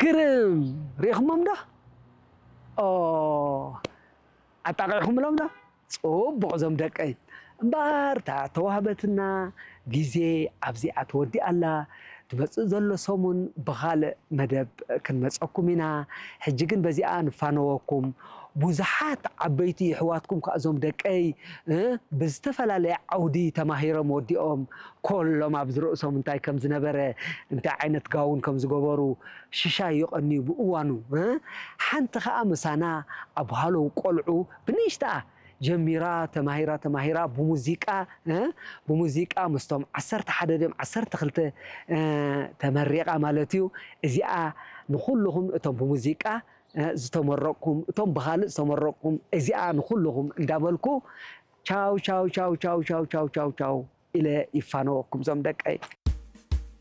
ግርም! ርኢኹሞም ዶ? ኦ፣ ኣጣቒዕኹምሎም ዶ? ጽቡቕ እዞም ደቀይ። እምበኣር እታ ተዋህበትና ግዜ ኣብዚኣ ተወዲኣ ኣላ። ዝመጽእ ዘሎ ሰሙን ብኻልእ መደብ ክንመጸኩም ኢና። ሕጂ ግን በዚኣ ንፋነወኩም። ብዙሓት ዓበይቲ የሕዋትኩም ከኣ እዞም ደቀይ፣ እ፣ ብዝተፈላለየ ዓውዲ ተማሂሮም ወዲኦም፣ ኮሎም ኣብዚ ርእሶም እንታይ ከም ዝነበረ፣ እንታይ ዓይነት ጋውን ከም ዝገበሩ ሽሻይ ይቐንዩ ብእዋኑ፣ እ፣ ሓንቲ ከኣ ምሳና ኣብ ሃለው ቆልዑ ብንእሽተኣ ጀሚራ፣ ተማሂራ፣ ተማሂራ ብሙዚቃ፣ እ፣ ብሙዚቃ ምስቶም ዓሰርተ ሓደ ድዮም ዓሰርተ ክልተ፣ እ፣ ተመሪቓ ማለት እዩ። እዚኣ ንኹልኹም እቶም ብሙዚቃ፣ እ፣ ዝተመረቕኩም፣ እቶም ብኻልእ ዝተመረቕኩም፣ እዚኣ ንኹልኹም እንዳበልኩ ቻው፣ ቻው፣ ቻው ኢለ ይፋነወኩም እዞም ደቀይ።